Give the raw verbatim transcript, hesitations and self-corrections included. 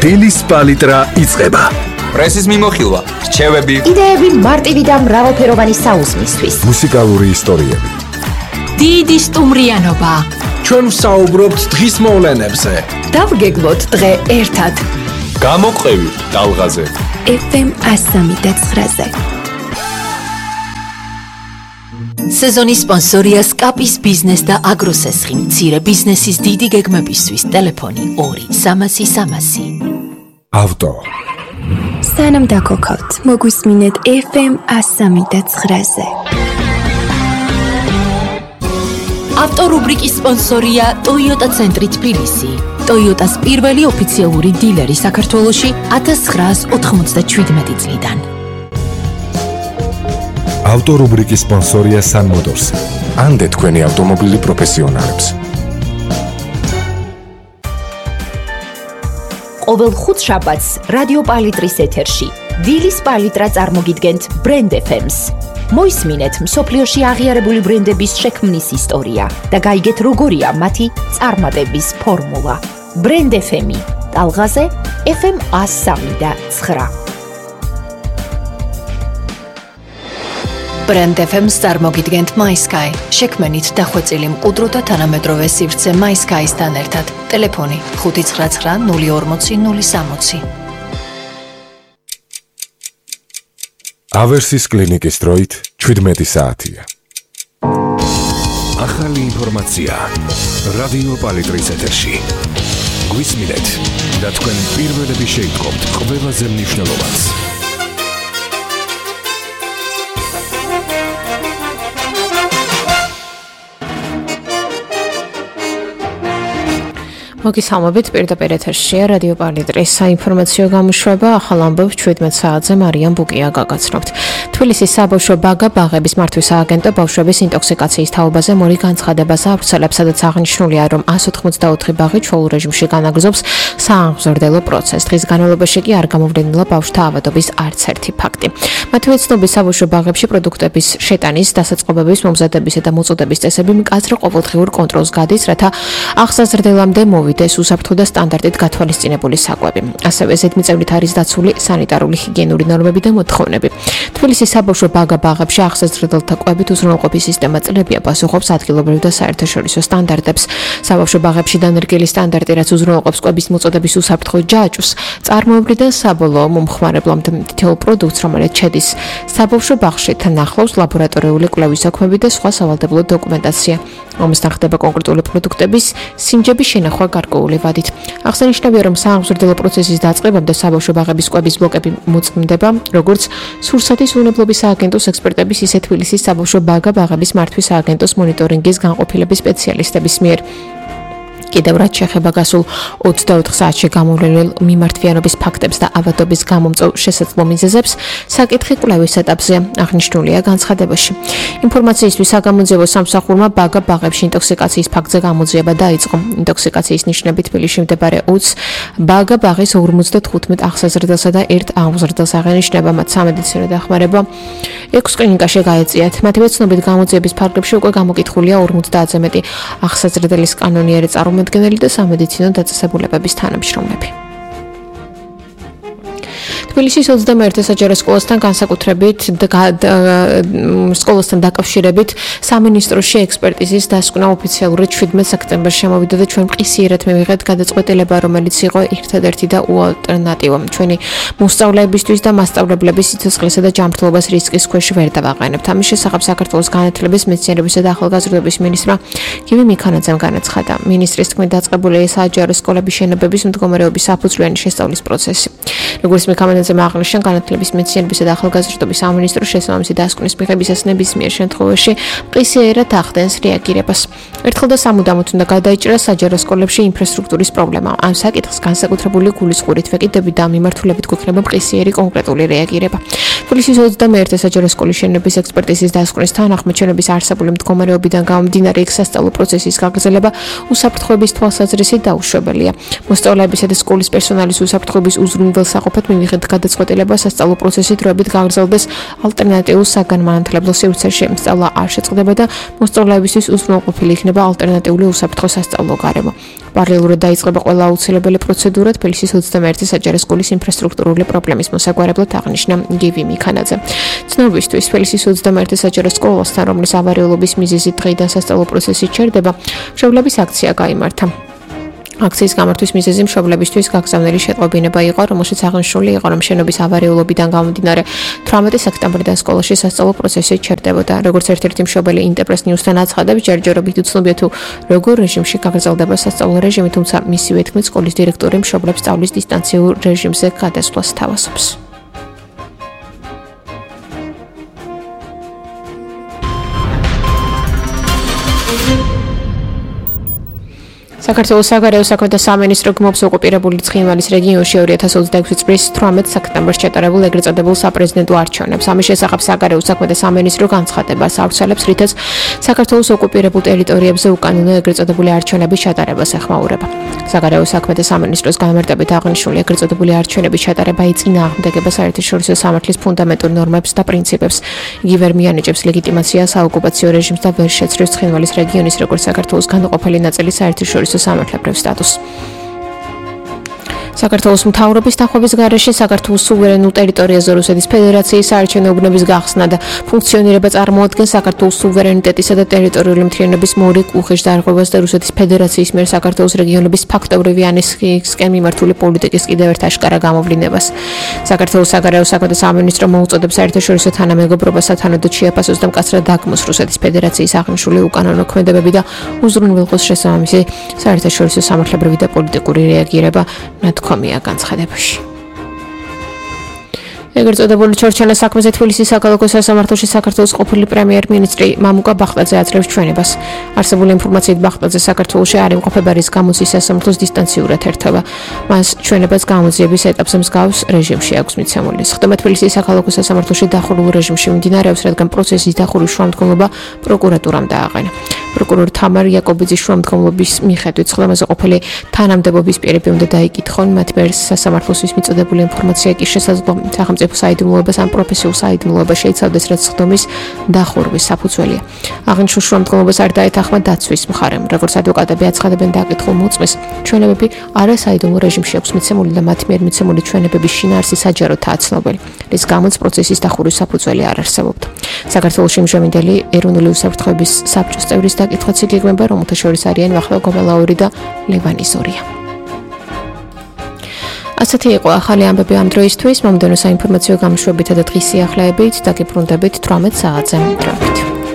დილის პალიტრა იწყება. პრესის მიმოხილვა, რჩევები, იდეები მარტივი და მრავალფეროვანი საუზმისთვის. მუსიკალური ისტორიები. დიდი სტუმრიანობა. ჩვენ ვსაუბრობთ დღის მოვლენებზე. დავგეგმოთ დღე ერთად. გამოყევი ტალღაზე. ეფ ემ ასამი და ცხრაზე. სეზონის სპონსორია სკაპის ბიზნეს და აგროსესხი მცირე ბიზნესის დიდი გეგმებისთვის ტელეფონი ორი სამასი სამასი. ავტო. სანამ დაგოქავთ, მოგვისმინეთ ეფ ემ ასამი და ცხრაზე. ავტორუბრიკის სპონსორია Toyota ცენტრი თბილისი. Toyota-ს პირველი ოფიციალური დილერი საქართველოში ათას ცხრაას ოთხმოცდაშვიდმეტი წლიდან. ავტორუბრიკის სპონსორია Sun Motors. ანდე თქვენი ავტომობილი პროფესიონალებს. ყოველ ხუთშაბათს რადიო პალიტრის ეთერში დილის პალიტრა წარმოგიდგენთ ბრენდ ეფ ემს. მოისმინეთ მსოფლიოში აღიარებული ბრენდების შექმნის ისტორია და გაიგეთ როგორია მათი წარმატების ფორმულა. ბრენდ ეფ ემი ტალღაზე ეფ ემ ასამი და ცხრა. ბრენდ ეფ ემს წარმოგიდგენთ MySky. შექმენით დახვეწილი მყუდრო და თანამედროვე სივრცე MySky-სთან ერთად. ტელეფონი ხუთი ცხრა ცხრა ნული ორმოცი ნული სამოცი. ავერსის კლინიკის დროით შვიდმეტი საათია. ახალი ინფორმაცია რადიო პალიტრის ეთერში. გვისმინეთ და თქვენ პირველები შეიტყობთ ყველაზე მნიშვნელოვანს. მოგესალმებით, პირდაპირ ეთერშია რადიო პალიტრის საინფორმაციო გამოშვება. ახალ ამბობს შვიდმეტ საათზე მარიამ ბუკია გაგაცნობთ. თბილისის საბავშვო ბაგა ბაღების მართვის სააგენტო ბავშვების ინტოქსიკაციის თაობაზე მორი განცხადებას ავრცელებს, სადაც აღნიშნულია, რომ ას ოთხმოცდაოთხი ბაღი ჩვეულ რეჟიმში განაგრძობს სააღმზრდელო პროცესს. დღის განმავლობაში კი არ გამოვლენილა ბავშვთა ავადობის არც ერთი ფაქტი. მათივე ცნობის საბავშვო ბაღებში პროდუქტების შეტანის, დასაწყობების, მომზადებისა და მოწოდების წესები მკაცრ ყოველდღიურ კონტროლს გადის, რათა აღსაზრდელამდე მოვიდეს უსაფრთხო და სტანდარტით გათვალისწინებული საკვები. ასევე ზედმიწევნით არის დაცული სანიტარული ჰიგიენური ნორმები და მოთხოვნები. თბილისის საბავშვო ბაგა ბაღებში აღსაზრდელთა კვებით უზრუნველყოფის სისტემა წლებია პასუხობს ადგილობრივ და საერთაშორისო სტანდარტებს. საბავშვო ბაღებში დანერგილი სტანდარტი, რაც უზრუნველყოფს კვების მოწოდების უსაფრთხო ჯაჭვს, წარმოუდგენლად საბოლოო მომხმარებლამდე თითოეულ პროდუქტს, რომელიც შედის საბავშვო ბაღში, თანახლავს ლაბორატორიული კვლევის საქმეები და სხვა სავალდებულო დოკუმენტაცია. ომისთან ხდება კონკრეტული პროდუქტების სინჯების შენახვა გარკვეული ვადით. აღსანიშნავია, რომ სააღმზრდელო პროცესის დაწყებამდე საბავშვო ბაღების კვების ბლოკები მოწმდება, როგორც სურსათის უნებლობის სააგენტოს ექსპერტების, ისე თბილისის საბავშვო ბაგა ბაღების მართვის სააგენტოს მონიტორინგის განყოფილების სპეციალისტების მიერ. კიდევ რაც შეეხება გასულ ოცდაოთხ საათში გამოვლენილ მიმართვიანობის ფაქტებს და ავადობის გამომწვევ შესაძლო მიზეზებს, საკითხი კვლევის ეტაპზეა, აღნიშნულია განცხადებაში. ინფორმაციისთვის საგამოძიებო სამსახურმა ბაგა ბაღებში ინტოქსიკაციის ფაქტზე გამოძიება დაიწყო. ინტოქსიკაციის ნიშნები თბილისში მდებარე ოცს ბაგა ბაღის ორმოცდათხუთმეტ აღსაზრდელსა და ერთ აღმზრდელს აღენიშნება, მათ სამედიცინო დახმარება ექვს კლინიკაში გაეწიათ. მათივე ცნობით გამოძიების ფარგლებში უკვე გამოკითხულია ორმოცდაათზე მეტი აღსაზრდელის კანონიერი წარმომადგენელი და სამედიცინო დაწესებულებების თანამშრომლები. თბილისის ოცდამეერთე საჯარო სკოლასთან განსაკუთრებით სკოლასთან დაკავშირებით სამინისტროში ექსპერტიზის დასკვნა ოფიციალურად შვიდმეტ სექტემბერში შემოვიდა და ჩვენ მყისიერად მივიღეთ გადაწყვეტილება, რომელიც იყო ერთადერთი და უალტერნატივა. ჩვენი მოსწავლეებისთვის და მასწავლებლების სიცოცხლესა და ჯანმრთელობის რისკის ქვეშ ვერ დავაყენებთ. ამის შესახებ საქართველოს განათლების, მეცნიერებისა და ახალგაზრდობის მინისტრმა გივი მიქანაძემ განაცხადა. მინისტრის თქმით, დაწყებულია საჯარო სკოლების შენობების მდგომარეობის საფუძვლიანი შესწავლის პროცესი. როგორც მიქანაძე აღნიშნა, განათლების, მეცნიერებისა და ახალგაზრდობის სამინისტროს შესაბამისი დასკვნის მიღებისას ნებისმიერ შემთხვევაში მყისიერად ახდენს რეაგირებას. ერთხელ და სამუდამოდ უნდა გადაიჭრას საჯარო სკოლებში ინფრასტრუქტურის პრობლემა. ამ საკითხს განსაკუთრებული გულისხმობით ვეკიდები და მიმართულებით გვექნება მყისიერი კონკრეტული რეაგირება. თბილისის ოცდამეერთე საჯარო სკოლის შენობების ექსპერტიზის დასკვნის თანახმად შენობის არსებული მდგომარეობიდან გამომდინარე იქ სასწავლო პროცესის გაგრძელება უსაფრთხოების თვალსაზრისით დაუშვებელია. მოსწავლეებისა და სკოლის პერსონალის უსაფრთხოების უზრუნველსაყოფად მივიღეთ გადაწყვეტილება სასწავლო პროცესი დროებით გაგრძელდეს, ალტერნატიულ საგანმანათლებლო სივრცეში სწავლა არ შეწყდება და მოსწავლეებისთვის უზრუნველყოფილი იქნება ალტერნატიული უსაფრთხო სასწავლო გარემო. პარალელურად დაიწყება ყველა აუცილებელი პროცედურა თბილისის ოცდამეერთე საჯარო სკოლის ინფრასტრუქტურული პრობლემის მოსაგვარებლად, აღნიშნა გივი მიქანაძე. ცნობისთვის, თბილისის ოცდამეერთე საჯარო სკოლასთან, რომლის ავარიულობის მიზეზი დღეიდან სასწავლო პროცესი ჩერდება, მშობლების აქცია გაიმართა. აქციის გამართვის მიზეზი მშობლებისთვის გაგზავნილი შეტყობინება იყო, რომელშიც აღნიშნული იყო, რომ შენობის ავარიულობიდან გამომდინარე თვრამეტი სექტემბრიდან სკოლაში სასწავლო პროცესი ჩერდებოდა. როგორც ერთ-ერთი მშობელი ინტერპრეს ნიუსთან აცხადებს, ჯერჯერობით უცნობია თუ როგორ რეჟიმში გაგრძელდება სასწავლო რეჟიმი, თუმცა მისივე თქმით, სკოლის დირექტორი მშობლებს სწავლის დისტანციურ რეჟიმზე გადასვლას თავაზობს. საქართველოს საგარეო საქმეთა სამინისტრო გმობს ოკუპირებული ცხინვალის რეგიონში ორი ათას ოცდაექვსი წლის თვრამეტ სექტემბერს ჩატარებულ ეგრეთ წოდებულ საპრეზიდენტო არჩევნებს. ამის შესახებ საგარეო საქმეთა სამინისტრო განცხადებას ავრცელებს, რითაც საქართველოს ოკუპირებულ ტერიტორიებზე უკანონო ეგრეთ წოდებული არჩევნების ჩატარებას ეხმაურება. საგარეო საქმეთა სამინისტროს განმარტებით აღნიშნული ეგრეთ წოდებული არჩევნების ჩატარება ეწინააღმდეგება საერთაშორისო სამართლის ფუნდამენტურ ნორმებს და პრინციპებს. იგი ვერ მიანიჭებს ლეგიტიმაციას საოკუპაციო რეჟიმს და ვერ შეცრებს ცხინვალის რეგიონის როგორც საქართველოს განუყოფელი ნაწილი საერთაშორისო სამართლებრივ სტატუსს. საქართველოს მთავრობის დახმობის გარეშე საქართველოს სუვერენულ ტერიტორიაზე რუსეთის ფედერაციის საარჩევნო უბნების გახსნა და ფუნქციონირება წარმოადგენს საქართველოს სუვერენიტეტისა და ტერიტორიული მთლიანობის მორიგ უხეშ დარღვევას და რუსეთის ფედერაციის მიერ საქართველოს რეგიონების ფაქტობრივი ანექსიისკენ მიმართული პოლიტიკის კიდევ ერთ აშკარა გამოვლინებას. საქართველოს საგარეო საქმეთა სამინისტრო მოუწოდებს საერთაშორისო თანამეგობრობასა თანადოდ შეაფასოს და მკაცრად დაგმოს რუსეთის ფედერაციის აღნიშნული უკანონო ქმედებები და უზრუნველყოს შესაბამისი საერთაშორისო სამართლებრივი და პოლიტიკური რეაგირება ნათქვამია განცხადებაში. ეგრეთ წოდებული ჩორჩენას საქმეზე თბილისის საქალაქო სასამართლოში საქართველოს ყოფილი პრემიერ-მინისტრი მამუკა ბახტაძე აძლევს ჩვენებას. არსებული ინფორმაციით ბახტაძე საქართველოში არ იმყოფება, რის გამოც ის სასამართლოს დისტანციურად ერთვება. მას ჩვენებას გამოძიების ეტაპზე მსგავს რეჟიმში აქვს მიცემული. სხდომა თბილისის საქალაქო სასამართლოში დახურულ რეჟიმში მიმდინარეობს, რადგან პროცესის დახურვის შუამდგომლობა პროკურატურამ დააყენა. პროკურორ თამარ იაკობიძის შუამდგომლობის მიხედვით სხდომაზე ყოფილი თანამდებობის პირები უნდა დაიკითხონ, მათ მიერ სასამართლოსთვის მიწოდებული ინფორმაცია კი შესაძლო სახელმწიფო საიდუმლოებას ან პროფესიულ საიდუმლოებას შეიცავდეს, რაც სხდომის დახურვის საფუძველია. აღნიშნულ შუამდგომლობას არ დაეთანხმა დაცვის მხარემ. როგორც ადვოკატები აცხადებენ დაკითხულ მოწმეს, ჩვენებები არასაიდუმლო რეჟიმში აქვს მიცემული და მათ მიერ მიცემული ჩვენებების შინაარსი საჯაროდაა ცნობილი, რის გამოც პროცესის დახურვის საფუძველი არ არსებობდა. საქართველოში მჟევინდელი ეროვნული უსაფრთხოების საბჭოს წევრის დაკითხვაც იგეგმება, რომელთა შორის არიან ვახტანგ გომელაური და ლევან იზორია. ასეთი იყო ახალი ამბები ამ დროისთვის. მომდევნო საინფორმაციო გამოშვებითა და დღის სიახლეებით დაგიბრუნდებით თვრამეტ საათზე.